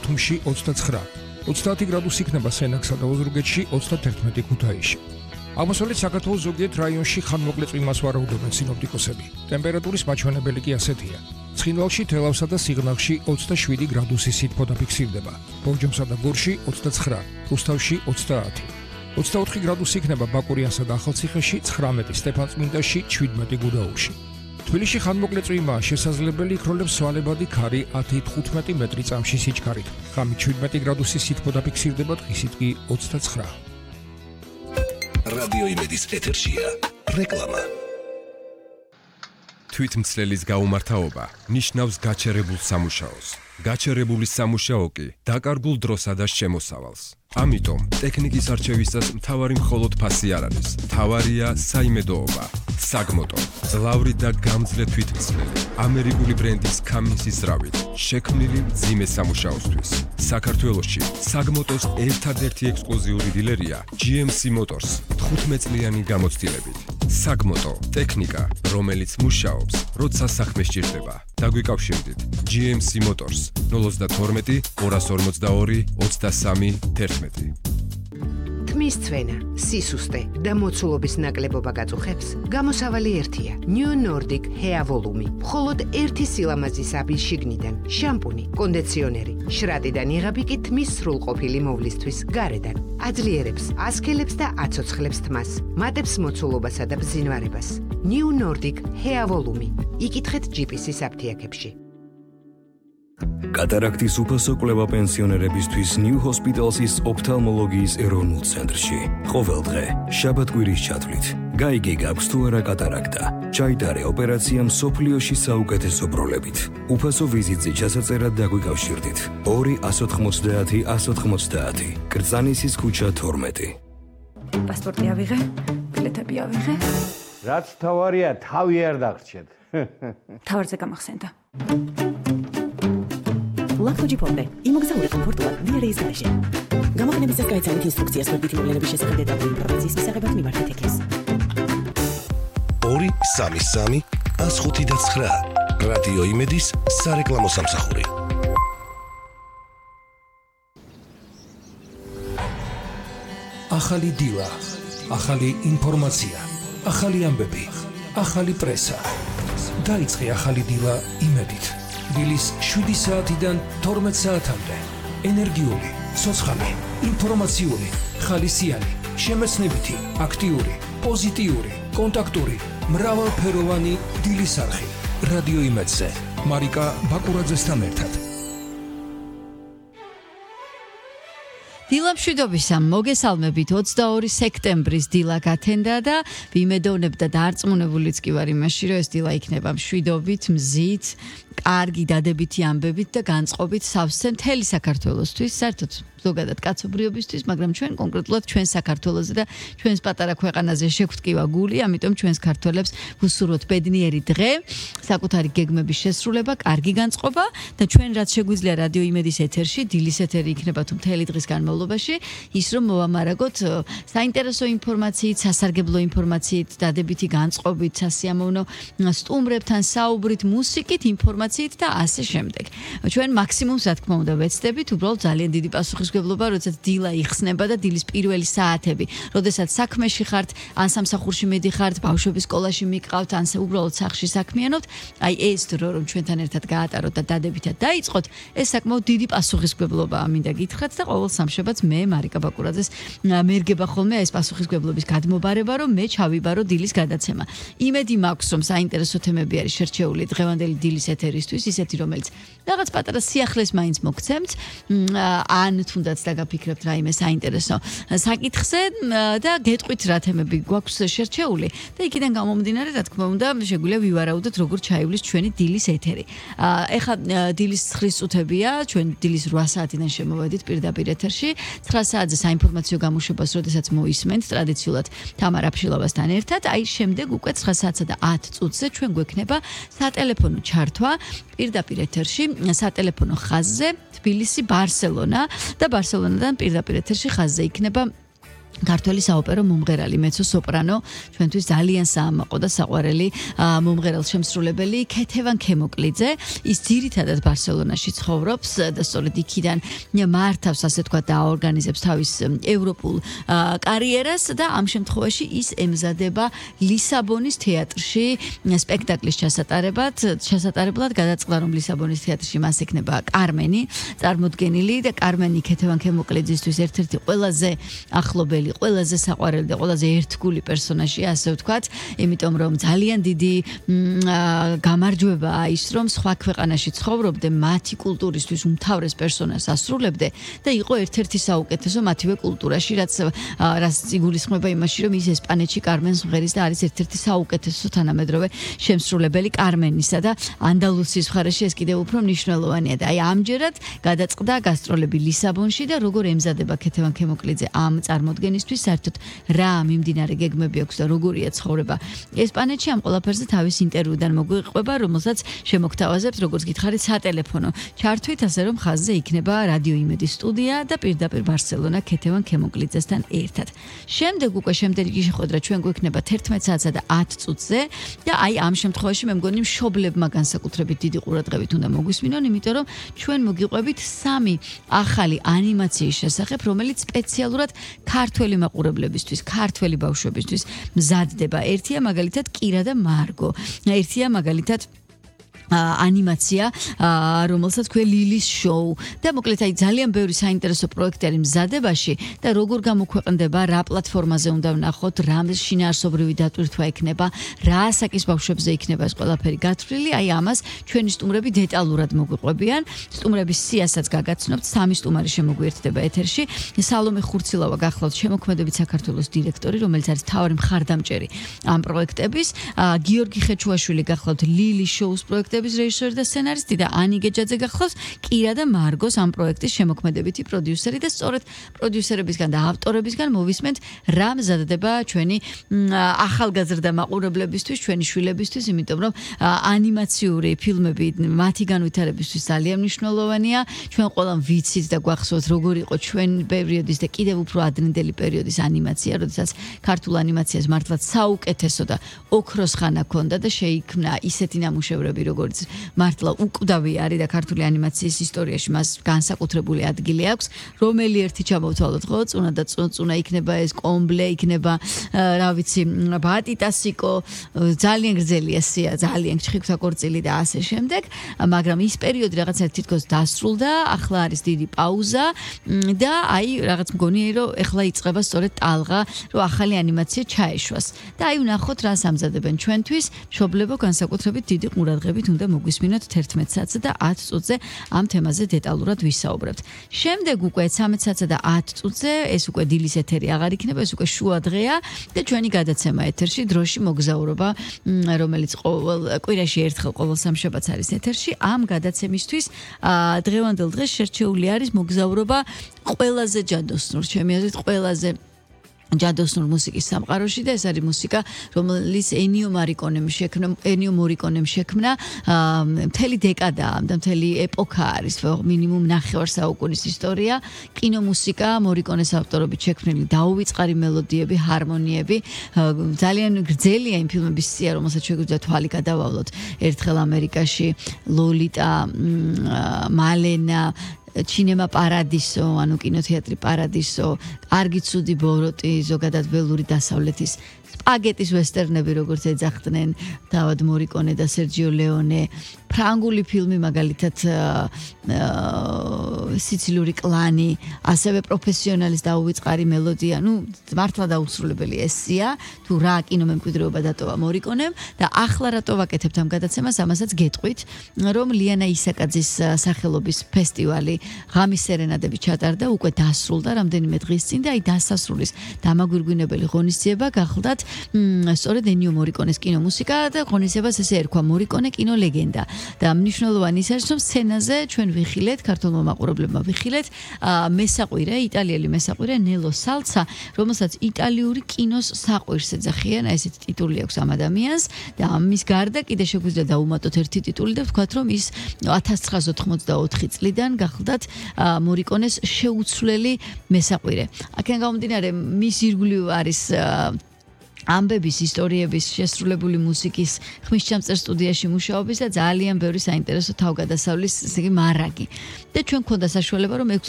ბათუმში 29, 30 გრადუსი იქნება სენაკსა და ოზურგეთში 31 ქუთაისში. აღმოსავლეთ საქართველოს ზოგიერთ რაიონში ხანმოკლე წვიმას ვარაუდობენ სინოპტიკოსები. ტემპერატურის მაჩვენებელი კი ასეთია. ცხინვალში, თელავსა და სიღნაღში 27 გრადუსი სითბო დაფიქსირდება. ბორჯომსა და გორში 29, რუსთავში 30. 24 გრადუსი იქნება ბაკურიანსა და ახალციხეში, 19 სტეფანწმინდაში, 17 გუდაურში. თბილისში ხანმოკლე წვიმაა შესაძლებელი, იქროლებს სვალებადი ქარი 10-15 მეტრი წამში სიჩქარით. ღამით 17 გრადუსი სითბო დაფიქსირდება, დღისით კი 29. რადიო იმედის ეთერშია რეკლამა. თვითმცლელის გაუმართავობა ნიშნავს გაჩერებულ სამუშაოს. გაჩერებული სამუშაო კი დაკარგულ დროსა და შემოსავალს. ამიტომ ტექნიკის არჩევისას მთავარი მხოლოდ ფასი არ არის. მთავარია საიმედოობა. საგმოტო, ძლავრი და გამძლე თვითმცლელი, ამერიკული ბრენდის კამინსის ძრავით, შექმნილი მძიმე სამუშაოსთვის. საქართველოში საგმოტოს ერთადერთი ექსკლუზიური დილერია GMC Motors 15 წლიანი გამოცდილებით. საგმოტო, ტექნიკა, რომელიც მუშაობს, როცა საქმე სჭირდება. დაგვიკავშირდით GMC Motors 012 242 23 11. თმის წვენა, სისუსტე და მოცულობის ნაკლებობა გაწუხებს, გამოსავალი ერთია. New Nordic Hair Volume. მხოლოდ ერთი სილამაზის აბის შიგნიდან, შამპუნი, კონდიციონერი, შრატიდან იღები კი თმის სრულყოფილი მოვლისთვის გარედან. აძლიერებს, ასქელებს და აცოცხლებს თმას, მატებს მოცულობასა და ბზინვარებას. New Nordic Hair Volume. იკითხეთ GPC-ის აფთიაქებში. კატარაქტის უფასო კვლევა პენსიონერებისთვის New Hospital's ოფთალმოლოგიის ეროვნულ ცენტრში. ყოველ დღე, შაბათ-კვირის ჩათვლით. გაიგე გაქვს თუ არა კატარაქტა. ჩაიტარე ოპერაცია მსოფლიოში საუკეთესო პროლებით. უფასო ვიზიტზე ჩასაწერად დაგვიკავშირდით. 2 190 190. კრწანისის ქუჩა 12. პასპორტი ავიღე, ბილეთები ავიღე. რაც თავარია, თავი არ დაგრჩეთ. თავარზე გამახსენდა. ლაქთოჯი ფონდე, იმოგზაური კომფორტულად დიარეის გარეშე. გამოგონებისას გაიცანით ინსტრუქციას ვერბითი მოვლენების შესახებ დეტალური ინფორმაციის მისაღებად მიმართეთ ექეს. 233 105 რადიო იმედის სარეკლამო სამსახური. ახალი დილა, ახალი ინფორმაცია, ახალი ამბები, ახალი პრესა. დაიწყე ახალი დილა იმედით. დილის 7 საათიდან 12 საათამდე. ენერგიული, ცოცხალი, ინფორმაციული, ხალისიანი, შემეცნებითი, აქტიური, პოზიტიური, კონტაქტური, მრავალფეროვანი დილის არხი. რადიო იმედზე. მარიკა ბაკურაძესთან ერთად. დილამშვიდობისა, მოგესალმებით 22 სექტემბრის დილა გათენდა და ვიმედოვნებ და დარწმუნებულიც კი ვარ იმაში, რომ ეს დილა იქნება მშვიდობით, მზით, კარგი დადებითი ამბებით და განწყობით სავსე მთელი საქართველოსთვის, საერთოდ ზოგადად კაცობრიობისთვის, მაგრამ ჩვენ კონკრეტულად ჩვენ საქართველოზე და ჩვენს პატარა ქვეყანაზე შეგვტკივა გული, ამიტომ ჩვენს ქართველებს ვუსურვოთ ბედნიერი დღე, საკუთარი გეგმების შესრულება, კარგი განწყობა და ჩვენ რაც შეგვიძლია რადიო იმედის ეთერში, დილის ეთერი იქნება თუ მთელი დღის განმავლობაში, ის რომ მოვამარაგოთ საინტერესო ინფორმაციით, სასარგებლო ინფორმაციით, დადებითი განწყობით, სასიამოვნო სტუმრებთან საუბრით, მუსიკით, ინფორმაციით და ასე შემდეგ. ჩვენ მაქსიმუმს რა თქმა უნდა ვეცდებით, უბრალოდ ძალიან დიდი პასუხისმგებლობა, როდესაც დილა იხსნება და დილის პირველი საათები, როდესაც საქმეში ხართ, ან სამსახურში მიდიხართ, ბავშვების სკოლაში მიყავთ, ან უბრალოდ სახლში საქმიანობთ, აი ეს დრო რომ ჩვენთან ერთად გაატაროთ და დადებითად დაიწყოთ, ეს საკმაოდ დიდი პასუხისმგებლობაა, მინდა გითხრათ და ყოველ სამშაბათს მე მარიკა ბაკურაძეს მერგება ხოლმე ეს პასუხისმგებლობის გადმობარება, რომ მე ჩავიბარო დილის გადაცემა. იმედი მაქვს, რომ საინტერესო თემები არის შერჩეული დღევანდელი დილის ეთერისთვის, ისეთი რომელიც რაღაც პატარა სიახლეს მაინც მოგცემთ, ან თუნდაც დაგაფიქრებთ რაიმე საინტერესო საკითხზე და გეტყვით რა თემები გვაქვს შერჩეული და იქიდან გამომდინარე, რა თქმა უნდა, შეგვიძლია ვივარაუდოთ როგორ ჩაივლის ჩვენი დილის ეთერი. ეხლა დილის 9 წუთებია, ჩვენ დილის 8 საათიდან შემოვედით პირდაპირ ეთერში. 9 საათზე საინფორმაციო გამოშვებას, როდესაც მოისმენთ ტრადიციულად თამარ აფშილავასთან ერთად, აი შემდეგ უკვე 9 საათსა და 10 წუთზე ჩვენ გვექნება სატელეფონო ჩართვა პირდაპირ ეთერში, სატელეფონო ხაზზე თბილისი, ბარსელონა და ბარსელონიდან პირდაპირ ეთერში ხაზზე იქნება ქართველი საოპერო მომღერალი, მეცო-სოპრანო, ჩვენთვის ძალიან საამაყო და საყვარელი მომღერალ შემსრულებელი ქეთევან ქემოკლიძე. ის ძირითადად ბარსელონაში ცხოვრობს და სწორედ იქიდან მართავს, ასე თქვა, და აორგანიზებს თავის ევროპულ კარიერას და ამ შემთხვევაში ის ემზადება ლისაბონის თეატრში სპექტაკლის ჩასატარებლად გადაწყდა, რომ ლისაბონის თეატრში მას ექნება კარმენი წარმოდგენილი და კარმენი ქეთევან ქემოკლიძისთვის ერთ-ერთი ყველაზე ახლობელი, ყველაზე საყვარელი და ყველაზე ერთგული პერსონაჟია, ასე ვთქვათ, იმიტომ რომ ძალიან დიდი გამარჯვებაა ის, რომ სხვა ქვეყანაში ცხოვრობდე, მათი კულტურისთვის უმთავრეს პერსონაჟს ასრულებდე და იყო ერთ-ერთი საუკეთესო მათივე კულტურაში, რაც იგულისხმება იმაში, რომ ის ესპანეთში კარმენს მღერის და არის ერთ-ერთი საუკეთესო თანამედროვე შემსრულებელი კარმენისა და ანდალუსიის მხარეში ეს კიდევ უფრო მნიშვნელოვანია და აი ამჯერად გადაწყდა გასტროლები ლისაბონში და როგორ ემზადება ქეთევან ქემოკლიძე ამ წარმოდგენისთვის, საერთოდ რა მიმდინარე გეგმები აქვს და როგორია ცხოვრება ესპანეთში, ამ ყველაფერზე თავის ინტერვიუდან მოგვიყვება, რომელსაც შემოგთავაზებთ, როგორც გითხარით, სატელეფონო ჩართვით, ასე რომ ხაზზე იქნება რადიო იმედის სტუდია და პირდაპირ ბარსელონა ქეთევან ქემოკლიძესთან ერთად. შემდეგ უკვე შემდეგი შეხვედრა ჩვენ გვექნება 11 საათსა და 10 წუთზე და აი ამ შემთხვევაში მე მგონი მშობლებმა განსაკუთრებით დიდი ყურადღებით უნდა მოგვისმინონ, იმიტომ რომ ჩვენ მოგიყვებით 3 ახალი ანიმაციის შესახებ, რომელიც სპეციალურად ქართველი მაყურებლებისთვის, ქართველი ბავშვებისთვის მზადდება. ერთია მაგალითად კირა და მარგო. ერთია მაგალითად ანიმაცია, რომელსაც ქვია ლილის შოუ და მოკლედ აი ძალიან ბევრი საინტერესო პროექტი არის მზადებაში და როგორ გამოქვეყნდება, რა პლატფორმაზე უნდა ვნახოთ, რა შინაარსობრივი დატვირთვა ექნება, რა ასაკის ბავშვებზე იქნება ეს ყველაფერი გათვლილი, აი ამას ჩვენი სტუმრები დეტალურად მოგვიყვებიან. სტუმრების სიასაც გაგაცნობთ, 3 სტუმარი შემოგვიერთდება ეთერში. სალომე ხურცილავა გახლავთ შემოქმედებით საქართველოს დირექტორი, რომელიც არის მთავარი მხარდამჭერი ამ პროექტების, გიორგი ხეჩუაშვილი გახლავთ ლილის შოუს პროექტების რეჟისორი და სცენარისტი და ანი გეჯაძე გახლავს კირა და მარგოს ამ პროექტის შემოქმედებითი პროდიუსერი და სწორედ პროდიუსერებისგან და ავტორებისგან მოვისმენთ რა მზადდება ჩვენი ახალგაზრდა მაყურებლებისთვის, ჩვენი შვილებისთვის, იმიტომ რომ ანიმაციური ფილმები მათი განვითარებისთვის ძალიან მნიშვნელოვანია. ჩვენ ყველამ ვიცით და გვახსოვთ როგორ იყო ჩვენ პერიოდის და კიდევ უფრო ადრინდელი პერიოდის ანიმაცია, როდესაც ქართულ ანიმაციას მართლაც საუკეთესო და ოქროს ხანა ჰქონდა და შეიქმნა ისეთი ნამუშევრები, როგორც მართლა უკვდავი არის და ქართული ანიმაციის ისტორიაში მას განსაკუთრებული ადგილი აქვს. რომელი ერთი ჩამოვთვალოთ, ხო? წუნა და წუნა იქნება ეს კომბლე, იქნება რა ვიცი, ბატიტასიკო, ძალიან გრძელია სია, ძალიან ჩხიკვთა კორწილი და ასე შემდეგ, მაგრამ ის პერიოდი რაღაცა თითქოს დასრულდა, ახლა არის დიდი პაუზა და აი რაღაც მგონია, რომ ეხლა იწყება სწორედ ტალღა, რომ ახალი ანიმაცია ჩაეშვას. და აი ვნახოთ რა სამზადებენ ჩვენთვის, მშობლებო, განსაკუთრებით დიდი ყურადღებით უნდა მოგვისმინოთ 11 საათსა და 10 წუთზე ამ თემაზე დეტალურად ვისაუბრებთ. შემდეგ უკვე 13 საათსა და 10 წუთზე ეს უკვე დილის ეთერი აღარ იქნება, ეს უკვე შუა დღეა და ჩვენი გადაცემა ეთერში დროში მოგზაურობა, რომელიც ყოველ კვირაში ერთხელ ყოველ სამშაბათს არის ეთერში. ამ გადაცემისთვის დღევანდელ დღეს შერჩეული არის მოგზაურობა ყველაზე ჯადოსნურ, ჩემი აზრით ყველაზე ჯადოსნურ მუსიკის სამყაროში და ეს არის მუსიკა, რომელიც ენიო მორიკონემ შექმნა მთელი დეკადა და მთელი ეპოქა არის, მინიმუმ 9 საუკუნის ისტორია. კინომუსიკა, მორიკონეს ავტორობით შექმნილი დაუვიწყარი მელოდიები, ჰარმონიები, ძალიან გრძელია იმ ფილმების სია, რომელსაც შეგვიძლია თვალი გადავავლოთ. ერთხელ ამერიკაში, ლოლიტა, მალენა, ჩინემა პარადისო, ანუ კინოთეატრი პარადისო, კარგი ცუდი ბოროტი, ზოგადად ველური დასავლეთის სპაგეტის ვესტერნები, როგორც ეძახდნენ დავად მორიკონე და სერჯიო ლეონე, ფრანგული ფილმი მაგალითად სიცილიური კლანი, ასევე პროფესიონალის დაუვიწყარი მელოდია, მართლა დაუსრულებელი ესია, თუ რა კინომემკვიდრეობა დატოვა მორიკონემ და ახლა რატო ვაკეთებთ ამ გადაცემას, ამასაც გეტყვით, რომ ლიანა ისაკაძის სახელობის ფესტივალი ღამის სერენადები ჩატარდა, უკვე დასრულდა რამდენიმე დღის წინ და აი დასასრულის დამაგვირგვინებელი ღონისძიება გახლდათ სწორედ ენიო მორიკონეს კინომუსიკა და ღონისძიებას ესე ერქვა მორიკონე კინოლეგენდა და მნიშვნელოვანი ის არის რომ სცენაზე ჩვენ ვიხილეთ ქართულმა მაყურებლებმა ვიხილეთ მესაყვირე იტალიელი მესაყვირე ნელო სალცა რომელსაც იტალიური კინოს საყვირს ეძახიან ესეთი ტიტული აქვს ამ ადამიანს და ამის გარდა კიდე შეგვიძლია დავუმატოთ ერთი ტიტული და ვთქვათ რომ ის 1984 წლიდან გახლდათ მორიკონეს შეუცვლელი მესაყვირე. აქედან გამომდინარე მის ირგვლივ არის ამბების ისტორიების შესრულებული მუსიკის ხმისჩამწერ სტუდიაში მუშაობის და ძალიან ბევრი საინტერესო თავგადასავლის ესე იგი მარაგი. და ჩვენ გვქონდა საშუალება რომ 6